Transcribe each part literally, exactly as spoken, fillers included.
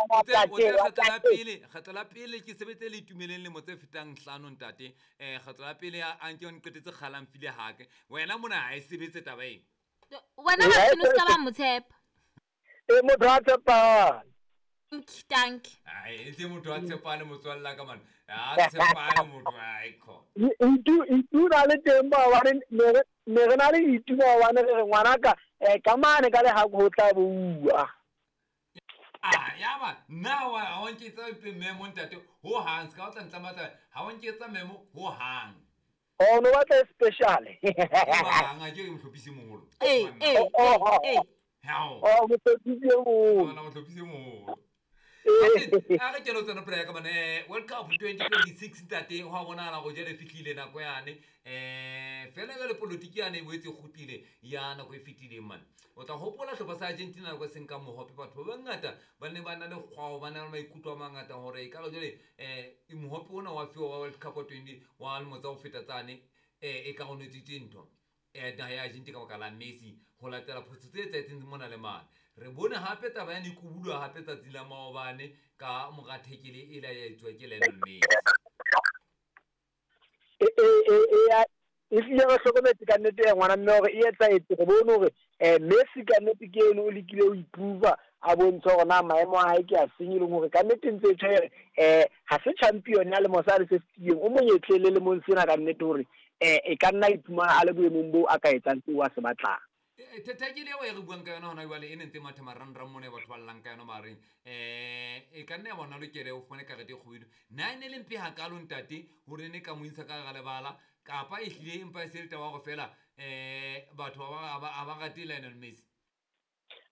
Kgetlo la pele, kgetlo la pele ke sebetse le Itumeleng lemo tse fetang hlano ntate. Eh kgetlo la pele a nke o nqetetse kgalang file hake. Wena mona ha e sebetse taba eng. Wena ba seno ska ba motshepa. E motho a tshepahale. Dank. Ai, e motho a tshepahale motswalla ka man. A tshepahale motho ai kho. Itu itu na le teng ba wa re ne re na le itu ba wa ne re ngwanaka eh ka mane ka le ha ho tla bua. Ah, ya ba na wa ha o nketsa memo ntate ho hang ska o tla ntlamata ha o nketsa memo ho hang. Oh no batla special. Ba nga ke mohlophisi moholo. Eh eh eh. Hao. Oh mohlophisi moholo. Ona mohlophisi moholo. A re kelo tsena pela ka bane World Cup twenty twenty-six ntate ho a bonahala go jele fihlile nako yane eh fela le politiki yane e boetse kgutlile ya nako e fetileng man. O tla hopola hlopha sa Argentina nako seng ka mohope batho ba bangata ba ne ba na le kgwao ba na le maikutlo a mangata hore e ka re jele eh mohope ona wa fiwa wa World Cup twenty wa lemo tsa ho feta tsane eh e ka go netsitse ntho eh naha ya Argentina ka baka la Messi ho latela phoso tse etsahetseng mona le mane. Re bone hape taba ya nikubulwa hape tsatsi la maobane ka mora thekele e la ya etswa ke Lionel Messi. E e e e hlile re hlokometse ka nnete ya ngwana mme hore e etsahetse re bone hore eh Messi ka nnete ke eno o lekile ho improve a bontsha hore na maemo a hae ke a seng e leng hore ka nnete ntse e tjho eh ha se champion ya lemo sa le se fetileng o monyetlele le mong sena ka nnete hore eh e ka nna iphumana a le boemong bo a ka etsang tseo a se batlang. Thekele eo e re buang ka yona hona jwale e ne ntse matha marangrang mona batho ba llang ka yona mareng eh e ka nna ya bona lokele o fumane karete e kgubedu na e ne le mpe hakalo ntate hore ne ka mo intsha ka hara lebala kapa e hlile empa e se le taba hore fela eh batho ba ba ba rate Lionel Messi.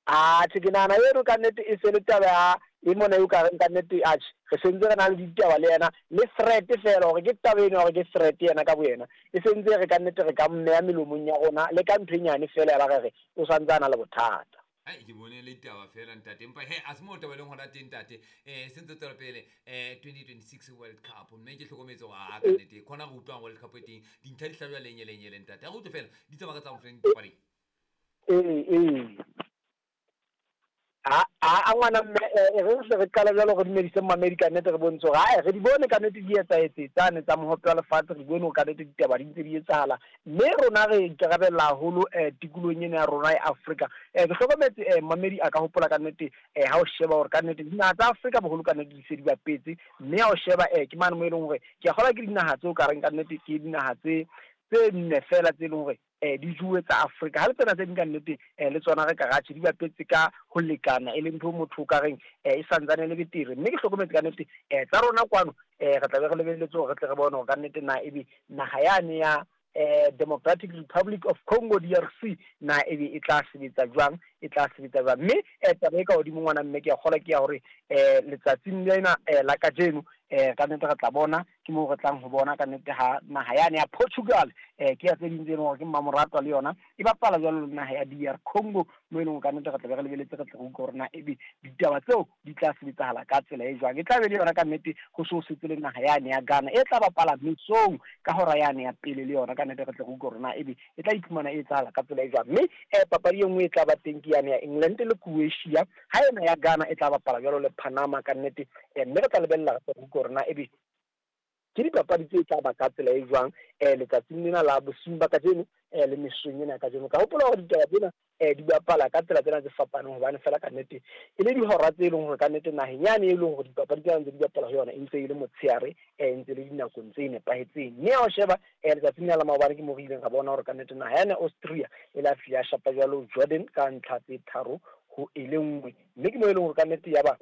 Ah tje ke nahana eno ka nnete e se le taba ya e mona eo ka reng ka nnete atjhe re sentse re na le ditaba le yena le threat fela hore ke taba eno hore ke threat yena ka boyena e sentse re ka nnete re ka mmeya melomong ya rona le ka ntho e nyane fela ya ba re re o santse a na le bothata. Ai ke bone le ditaba fela ntate empa he a se mo taba leng hona teng ntate eh sentse tswela pele eh twenty twenty-six World Cup mme ke hlokometse hore a ka nnete khona re utlwang World Cup e teng dintlha di hlajwa lenye lenye le ntate a re utlwe fela di tsamaya ka tsa mofeng dipapading. Eh eh a a ngwana mme e re se re qala jwalo re dumedise mmamedi ka nnete re bontshe hore ae re di bone ka nnete di etsahetse tsane tsa mohope wa lefatshe re bone hore ka nnete ditaba di ntse di etsahala mme rona re ikarabella haholo eh tikolohong ena ya rona ya Afrika. Eh ke hlokometse eh mmamedi a ka hopola ka nnete eh ha o sheba hore ka nnete dinaha tsa Afrika boholo ka nnete di se di bapetse mme ha o sheba eh ke mane mo e leng hore ke a kgolwa ke dinaha tseo ka reng ka nnete ke dinaha tse tse nne fela tse leng hore eh di juwe tsa Afrika ha le tsena tse ding ka nnete eh le tsona re ka ratjhe di bapetse ka ho lekana e leng ntho motho ka reng eh e santsane le betere mme ke hlokometse ka nnete eh tsa rona kwano eh re tla be re lebelletse hore re tle re bone hore ka nnete na ebe naha yane ya eh Democratic Republic of Congo D R C na ebe e tla sebetsa jwang e tla sebetsa jwang mme eh taba e ka hodimo ngwana mme ke a kgolwa ke ya hore eh letsatsing lena eh la kajeno eh ka nnete re tla bona ke moo re tlang ho bona ka nnete ha naha yane ya Portugal eh ke ya tse ding tse leng hore ke mmamoratwa le yona e bapala jwalo le naha ya D R Congo mo e leng ka nnete re tla be re lebeletse re tle re utlwe hore na ebe ditaba tseo di tla sebetsahala ka tsela e jwang e tla be le yona ka nnete ho so setse le naha yane ya Ghana e tla bapala mesong ka hora yane ya pele le yona ka nnete re tle re utlwe hore na ebe e tla iphumana e etsahala ka tsela e jwang mme eh papadi e nngwe e tla ba teng ke yane ya England le Croatia ha ena ya Ghana e tla bapala jwalo le Panama ka nnete mme re tla lebella re tle re utlwe hore na ebe ke dipapadi tse tla ba ka tsela e jwang eh letsatsing lena la bosiung ba kajeno eh le mesong ena kajeno ka hopola hore ditaba tsena eh di bapala ka tsela tsena tse fapaneng hobane fela ka nnete e le dihora tse leng hore ka nnete naheng yane e leng hore dipapadi tsena ntse di bapala ho yona e ntse e le motshehare eh ntse le dinakong tse nepahetseng mme ha o sheba eh letsatsing lena la maobane ke mo re ileng ra bona hore ka nnete naha yane Austria e la fihla ya shapa jwalo Jordan ka ntlha tse tharo ho e le nngwe mme ke mo e leng hore ka nnete ya ba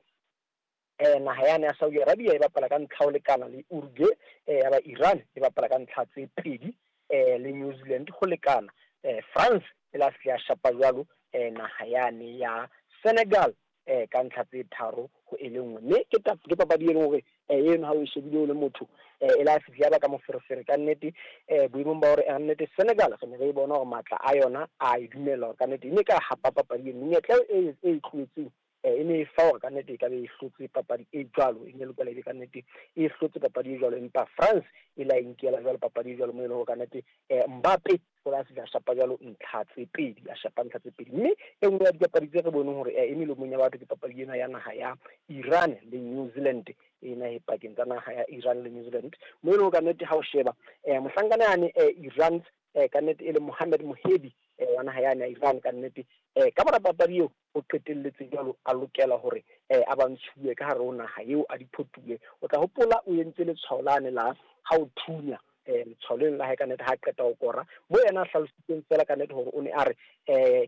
eh naha yane ya Saudi Arabia e bapala ka ntlha ho lekana le Uruguay eh ya ba Iran e bapala ka ntlha tse pedi eh le New Zealand ho lekana eh France e la fihla shapa jwalo eh naha yane ya Senegal eh ka ntlha tse tharo ho e le nngwe mme ke ke papadi e leng hore eh eno ha o e shebile o le motho eh e la fihla ba ka moferefere ka nnete eh boemong ba hore nnete Senegal re ne re bona hore matla a yona a e dumela hore ka nnete e ne ka hapa papadi eno menyetla e e tlohetseng e ne e fa hore ka nnete e ka be e hlotse papadi e jwalo, e ne lokela ebe ka nnete e hlotse papadi e jwalo, empa France e la inkela jwalo papadi e jwalo mo e leng hore ka nnete Mbappe o la se shapa jwalo ntlha tse pedi, a shapa ntlha tse pedi. Mme e nngwe ya dipapadi tse re boneng hore e melomong ya batho ke papadi ena ya naha ya Iran le New Zealand, ena e pakeng tsa naha ya Iran le New Zealand mo e leng hore ka nnete ha o sheba mohlankana yane Iran ka nnete e le Mohammad Mohebi wa naha yane ya Iran ka nnete ka mora papadi eo o qetelletse jwalo a lokela hore a ba ntshuwe ka hare ho naha eo a diphotuwe. O tla hopola o entse letshwao lane la ha o thunya letshwao leno la hae ka nnete ha qeta ho kora, mo yena a hlalositseng fela ka nnete hore o ne a re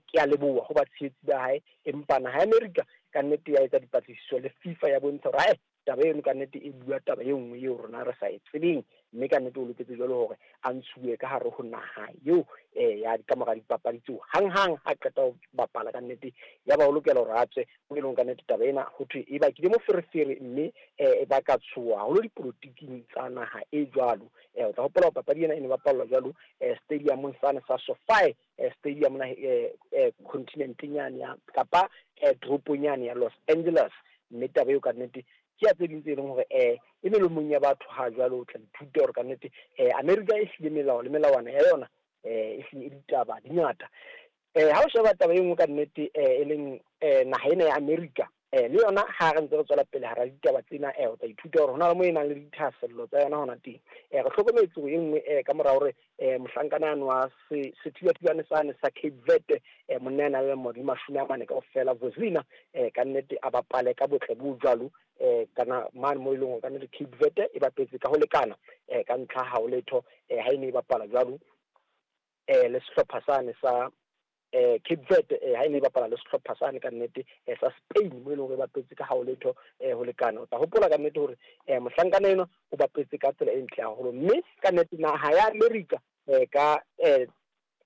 ke a leboha ho batshehetsi ba hae, empa naha ya America ka nnete ya etsa dipatlisiso le FIFA ya bontsha hore ae taba eno ka nnete e bua taba e nngwe eo rona re sa e tsebeng, mme ka nnete o loketse jwalo hore a ntshuwe ka hare ho naha eo ya ka mora dipapadi tseo hanghang ha qeta ho bapala ka nnete ya ba o lokela hore a tswe mo e leng ka nnete taba ena ho thwe e bakile moferefere mme e baka tshoha haholo dipolotiking tsa naha e jwalo. O tla hopola hore papadi ena e ne bapallwa jwalo stadiumong sane sa SoFi Stadium na continenteng yane ya kapa toropong yane ya Los Angeles, mme taba eo ka nnete ke ya tse ding tse leng hore e melomong ya batho ha jwalo. O tla ithuta hore ka nnete America e hlile melao le melawana ya yona e hlile e ditaba di ngata. Ha o sheba taba e nngwe ka nnete e leng naha ena ya America le yona ha re ntse re tswela pele hara ditaba tsena o tla ithuta hore hona le mo e nang le dithahasello tsa yona hona teng. Re hlokometse hore e nngwe ka mora hore mohlankana yane wa sethubathubane sane sa Cape Verde, monna ya nang le dilemo di mashome a mane kaofela Vozinha ka nnete a bapale ka botle bo jwalo kana mane mo e leng hore ka nnete Cape Verde e bapetse ka ho lekana ka ntlha ha ho letho ha e ne e bapala jwalo le sehlopha sane sa Cape Verde ha e ne e bapala le sehlopha sane ka nnete sa Spain mo e leng hore e bapetse ka ha ho letho ho lekana. O tla hopola ka nnete hore mohlankana enwa o bapetse ka tsela e ntle haholo, mme ka nnete naha ya America ka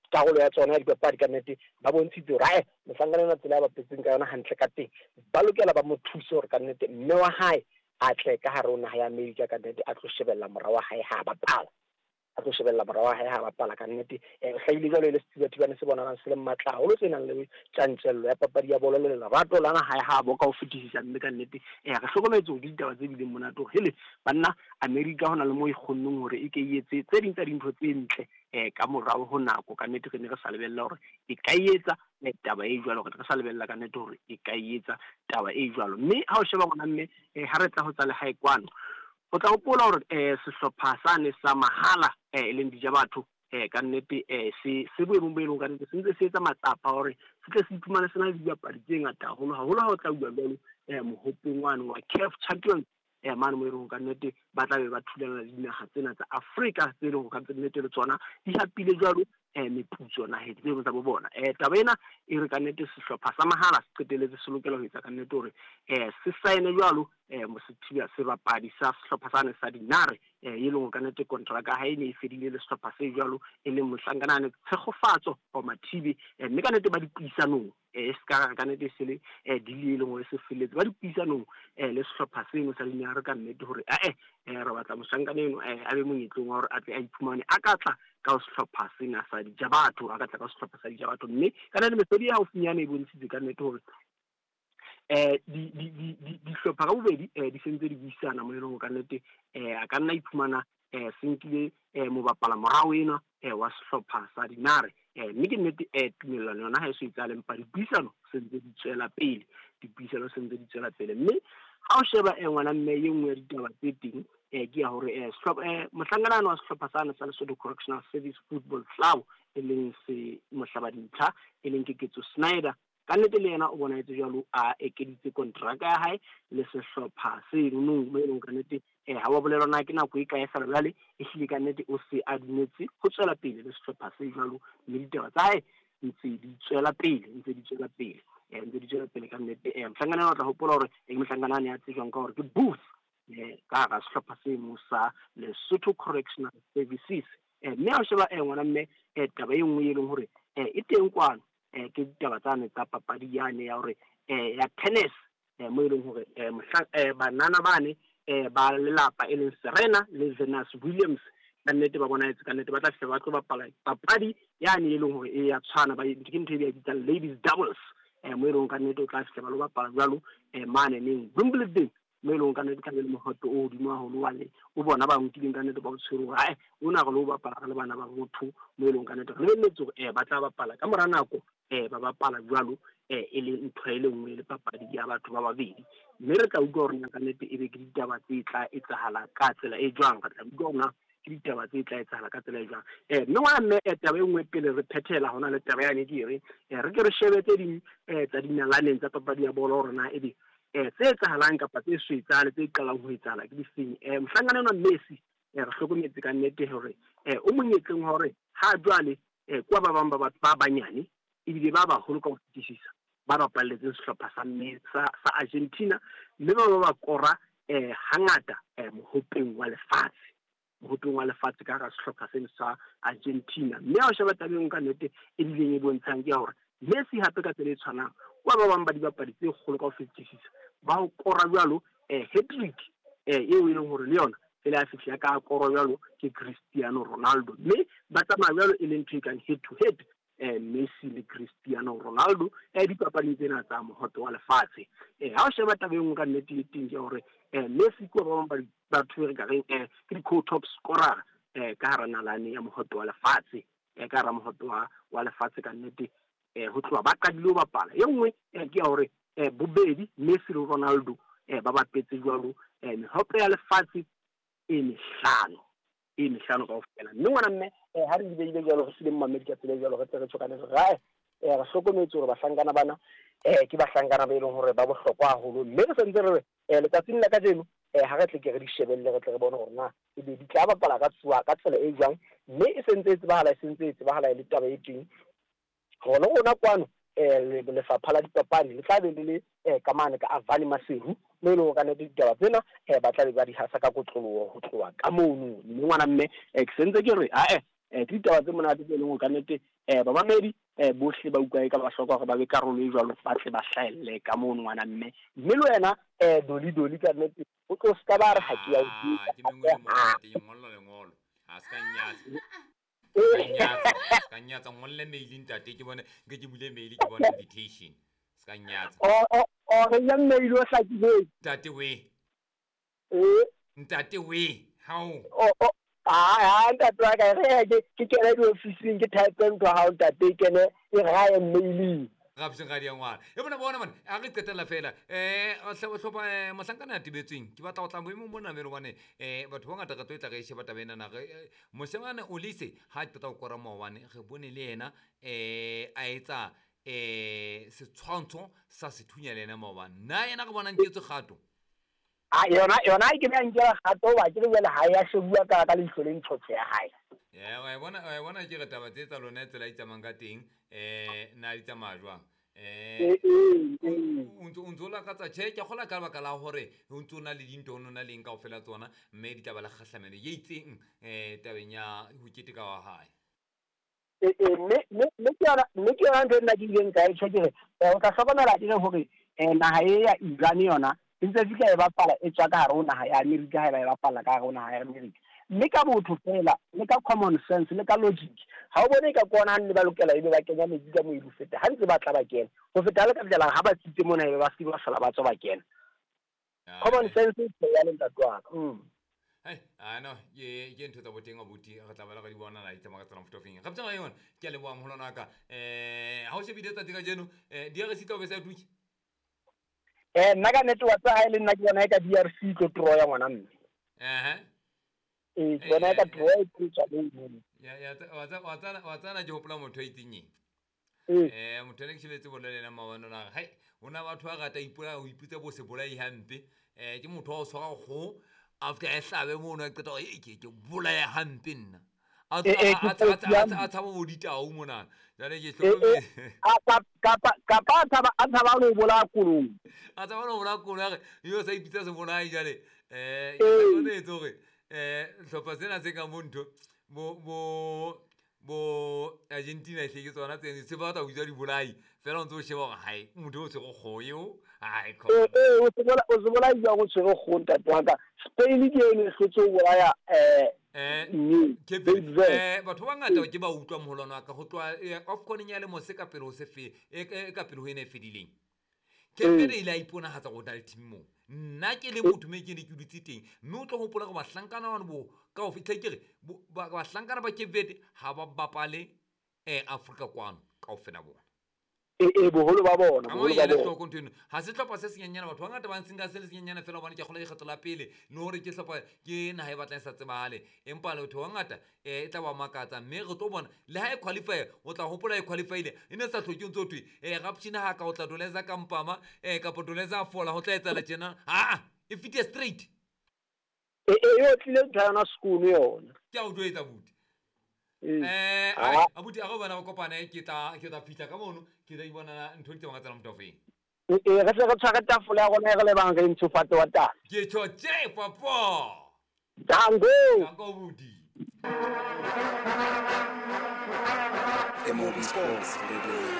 karolo ya tsona ya dipapadi ka nnete ba bontshitse hore ae mohlankana enwa tsela ya bapetseng ka yona hantle ka teng, ba lokela ba mo thuse hore ka nnete mme wa hae a tle ka hare ho naha ya America ka nnete a tlo shebella mora wa hae ha bapala, a tlo shebella mora wa hae ha bapala ka nnete. O hlahile jwalo e le sethubathubane se bonahalang se le matla haholo, se nang le tjantjello ya papadi ya bolo le lerato la naha ya habo ka ho fetisisa, mme ka nnete re hlokometse hore ditaba tse bileng monate hore hele banna America hona le mo e kgonneng hore e ke e etse tse ding tsa dintho tse ntle ka morao ho nako. Ka nnete re ne re sa lebella hore e ka etsa taba e jwalo, re sa lebella ka nnete hore e ka etsa taba e jwalo. Mme ha o sheba ngwana mme ha re tla ho tsa lehae kwano, o tla hopola hore sehlopha sane sa mahala e leng Dijabatho ka nnete se se boemong bo e leng ka nnete se ntse se etsa matsapa hore se tle se iphumane se na le dibapadi tse ngata haholo haholo ha o tla bua jwalo mohopeng wane wa CAF Champions mane mo e leng ka nnete ba tla be ba thulana le dinaha tsena tsa Afrika tse leng ka nnete le tsona di hapile jwalo meputso naheng tseo tsa bo bona. Taba ena e re ka nnete sehlopha sa mahala se qetelletse se lokela ho etsa ka nnete hore se saene jwalo sethiba sebapadi sa sehlopha sane sa Dinare e leng hore ka nnete kontraka ha e ne e fedile le sehlopha se jwalo e leng mohlankana ane Tshegofatso wa Mathibe, mme ka nnete ba dipuisanong e se ka ka nnete se le deal e leng hore se felletse ba dipuisanong le sehlopha seno sa Dinare ka nnete hore ae re batla mohlankana eno a be monyetleng wa hore a tle a iphumane a ka tla ka sehlopha sena sa Dijabatho, a ka tla ka sehlopha sa Dijabatho. Mme ka nnete mehlodi e haufinyane e bontshitse ka nnete hore di di di dihlopha ka bobedi di sentse di buisana mo e leng hore ka nnete a ka nna iphumana se nkile mobapala morao enwa wa sehlopha sa Dinare, mme ke nnete tumellano yona ha e so etsahale, empa dipuisano se ntse di tswela pele, dipuisano se ntse di tswela pele. Mme ha o sheba ngwana mme e nngwe ya ditaba tse teng ke ya hore mohlankana wa sehlopha sane sa Lesotho Correctional Service Football Club e leng se mohlaba dintlha e leng Keketso Snyder, ka nnete le yena o bonahetse jwalo a ekeditse kontraka ya hae le sehlopha seno mo e leng ka nnete ha wa bolelwa na ke nako e kae fela jwale e hlile ka nnete o se a dumetse ho tswela pele le sehlopha se jwalo, mme ditaba tsa hae ntse di tswela pele, ntse di tswela pele ntse di tswela pele ka nnete. Mohlankana o tla hopola hore ke mohlankana ya tsejwang ka hore ke Booth ka hara sehlopha seno sa Lesotho Correctional Services. Mme ha o sheba ngwana mme taba e nngwe e leng hore e teng kwano ke ditaba tsane tsa papadi yane ya hore ya tennis mo e leng hore banana bane ba lelapa e leng Serena le Venus Williams ka nnete ba bonahetse ka nnete ba tla fihla ba tlo bapala papadi yane e leng hore e ya tshwana, ba ke ntho e ba bitsang ladies doubles eh mo e leng ka nnete o tla fihla ba lo bapala jwalo eh mane neng Wimbledon mo e leng ka nnete tlabe le mohoto o hodimo haholo wa le o bona ba nkileng ka nnete ba o tshwere hore ae ona re lo bapala re le bana ba botho mo e leng ka nnete re lebelletse hore eh ba tla bapala ka mora nako eh ba bapala jwalo eh e le ntho e le nngwe le papadi ya batho ba babedi mme re tla utlwa hore na ka nnete e be ke ditaba tse tla etsahala ka tsela e jwang re tla utlwa hore na ke ditaba tse tla etsahala ka tsela e jwang eh mme ngwana mme taba e nngwe pele re phethela hona le taba yane ke re re ke re shebe tse ding eh tsa dinalaneng tsa papadi ya bolo hore na ebe eh tse etsahalang kapa tse swetsang tse qalang ho etsahala ke difeng eh mohlankana enwa Messi eh re hlokometse ka nnete hore eh o monyetleng hore ha jwale eh kwa ba bang ba batho ba banyane ebile ba baholo ka ho fetisisa ba bapalletseng sehlopha sa sa sa Argentina mme ba ba ba kora eh hangata eh mohopeng wa lefatshe mohopeng wa lefatshe ka hara sehlopha seno sa Argentina mme ha o sheba tabeng ka nnete e bileng e bontshang ke hore Messi hape ka tsela e tshwanang kwa ba bang ba dibapadi tse kgolo ka ho fetisisa ba ho kora jwalo eh hat-trick eh eo e leng hore le yona pele a fihla ka kora jwalo ke Cristiano Ronaldo mme ba tsamaya jwalo e leng ntho e kang head to head eh Messi le Cristiano Ronaldo eh dipapading tsena tsa mohoto wa lefatshe eh ha o sheba taba e nngwe ka nnete e teng ke hore eh Messi ke ba bang ba batho re ka reng eh ke di-co-top scorer eh ka hara nalane ya mohoto wa lefatshe eh ka hara mohoto wa wa lefatshe ka nnete eh ho tloha ba qadile ho bapala e nngwe ke ya hore eh bobedi Messi le Ronaldo eh ba bapetse jwalo eh mehope ya lefatshe e mehlano e mehlano kaofela mme ngwana mme eh ha re di beile jwalo re sile mmamedi ka tsela jwalo re tle re tshokane re rae eh re hlokometse hore bahlankana bana eh ke bahlankana ba e leng hore ba bohlokwa haholo mme re sentse re eh letsatsing la kajeno eh ha re tle ke re di shebelle re tle re bone hore na ebe di tla bapala ka tsuwa ka tsela e jwang mme e sentse e tsebahala e sentse e tsebahala e le taba e teng hore rona kwano eh lefapha la dipapadi le tla be le le eh ka mane ka Avani Maseru mo e leng hore ka nnete ditaba tsena eh ba tla be ba di hasa ka kotloloho ho tloha ka mono mme ngwana mme eh ke sentse ke re ae eh ke ditaba tse monate tse leng hore ka nnete eh bamamedi eh bohle ba utlwa e ka ba hloka hore ba be karolo e jwalo ba tle ba hlahelle ka mono ngwana mme mme le wena eh doli doli ka nnete o tlo ska ba re ha ke ya o ke mengwe le monate ke ngolla lengolo ha se ka nyatsa nyatsa ka nyatsa ngolle mail ntate ke bone nke ke bule mail ke bone invitation ska nyatsa o o o re ya mail o hlakileng ntate we eh ntate we how o o ah ntate wa ka re ke ke kene di office ke type ntho ha o ntate kene e rae mailing ga bseng ga di ngwana e bona bona man a re qetela fela eh hlopha mohlankana ya tibetsweng ke batla go tla boemong bona mele bone eh batho ba ngata ka tlo tla re sheba taba ena na re moshemane Olise ha qeta go kora maobane re bone le yena eh a etsa eh setshwantsho sa sethunya le yena maobane na yena re bona nketse kgato a yona yona ke be nkela kgato ba ke le ha ya shebuwa ka ka leihlo le ntshotse ya hae ya wa bona wa bona ke re taba tse tsa lona tsela e tsamayang ka teng eh na di tsamaya jwang eh o ntso o ntso lakatsa tjhe ke kgola ka lebaka la hore o ntso na le dintho o na leng kaofela tsona mme di tla ba le kgahlamelo e itseng eh tabeng ya ho keteka wa hae eh eh mme mme ke yona mme ke yona ntho e nna ke ileng ka e tjho ke re o tla hlokomela ke hore eh naha e ya Iran yona e ntse fihla e bapala e tswa ka hare ho naha ya Amerika ha e ba e bapala ka hare ho naha ya Amerika mme ka botho fela le ka common sense le ka logic ha o bone ka kona nne ba lokela ebe ba kenya metsi ka moedi ho feta ha ntse ba tla ba kena ho feta le ka tsela ha ba tsitse mona ebe ba se ba sala ba tswa ba kena common sense e ya le ntate wa ka mm Hey, I know ye ke ntho tsa boteng abuti re tla bala ka di bona la itsamaya ka tsela mofuta ofeng ga btsana yona ke a leboha moholo wa ka eh ha o shebile tsatsi ka jeno eh D R C tla be sa tuki eh nna ka nnete wa tsa ha ile nna ke bona e ka D R C tlo tro ya ngwana mme eh eh ke bona e ka tro e tlo tswa mo ya ya wa tsa wa tsa wa tsana ke hopola motho a itseng eng eh motho ene ke shebetse bolo le ena maobane o na re hai hona batho ba rata ipola ho ipitsa bo sebolai hampe eh ke motho wa o tshwara kgoho after a hlabe mono a qeta e ke ke bolaya hampe nna a a tshaba bo ditau mona jwale ke hlokometse kapa kapa a tshaba a tshaba lo bolaya koloi a tshaba lo bolaya koloi a re yo sa ipitsa sebolai jwale eh ke hlokometse hore eh hlopha sena se ka mo ntho bo bo Bo Argentina e hle ke tsona tse se batla ho bitsa dibolai fela o ntse o sheba hore hae motho o tshwere kgoho eo ai ee ee o se bola o se bolai jwang o tshwere kgoho ntate wa ka Spain ke eno e hlotse ho bolaya eh eh mme Cape Cape Verde. Verde. Eh, batho ba bangata ke ba utlwa moholwane wa ka ho tloha eh, AFCON ya lemo se ka pele ho se fe e e ka pele ho ena e fedileng Cape Verde e ile a iponahatsa hore o na le team moo nna ke le motho me ke ne ke dutse teng mme o tlo hopola hore bahlankana bano bo ka ho fihla ke re bo- ba- bahlankana ba Cape Verde ha ba bapale eh Afrika kwano kaofela bona ee ee boholo ba bona a boholo mo ba ele bona hloko ntho eno ha se hlopha se senyenyana batho ba bangata ba ntseng ka se le senyenyana fela hobane ke a kgolwa lekgetho la pele le hore ke hlopha ke naha e batlang e sa tsebahale empa batho ba bangata um e tla ba makatsa mme re tlo bona le ha e qualify o tla hopola e qualifyile e ne sa hloke o ntse o thwe um rapshina ha ka o tla doleza ka mpama um kapa doleza a fola ho tla etsahala tjena aa e fetile straight ee ee e otlile ntho ya yona sekolo yona ke a o jwetsa buti Ee. um Ah. abuti a re bona re kopane ke tla ke tla fihla ka mono ke tla ibonana ntho di tsamaya ka tsela motho ofeng ee ee, re tle re tshware tafole ya rona e re lebang re ntshofatse wa taba ke tjho tje papo tango Danko buti M O B Sports Radio.